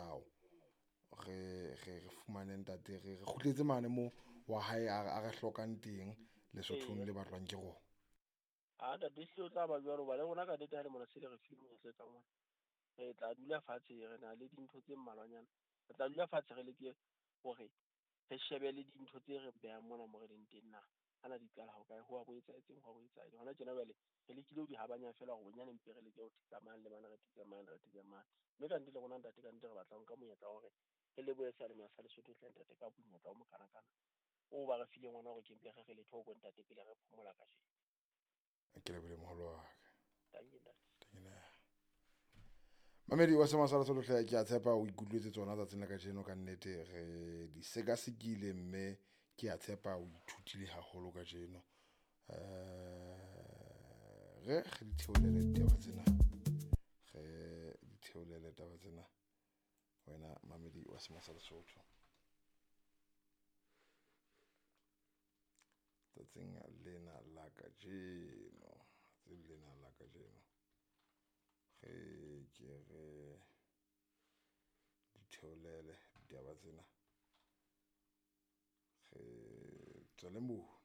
molao. Re re fumane ntate, re kgutletse mane mo wa hae a re hlokang teng Lesothong le batlwang ke rona. A ntate ehlile o tla ba jwalo hoba le rona ka nnete ha le mona se le re file monyetla tsa ngwana. Re tla dula fatshe re na le dintho tse mmalwanyana. Re tla dula fatshe re leke hore re shebe le dintho tse re behang mona mo re leng teng na. Ana di qala ho kae, ho a bo etsahetseng, ho a bo etsahetseng. Hona tjena jwale re lekile ho di habanya feela hore bonyane mpe re leke ho thetsa mane le mane, re thetse mane, re thetse mane. Mme ka nnete le rona ntate ka nnete re batla ho nka monyetla wa hore re lebohe seyalemoya sa Lesotho hle ntate ka monyetla o mokanakana oo ba re fileng ona hore ke mpe re re letho ho bo ntate pele re phomola kajeno. Ke lebohile moholo wa ka. Tanki ntate. Mamedi wa Sema sa Lesotho hle, ke a tshepa o ikutlwetse tsona tsatsing la kajeno ka nnete re di sekasekile mme ke a tshepa o ithutile haholo kajeno. Re di theolele ditaba tsena, re di theolele taba tsena wena mamedi wa Sema sa Lesotho. Tsatsing lena la kajeno, tsatsing lena la kajeno re ke re di theolele ditaba tsena, re tswele mono.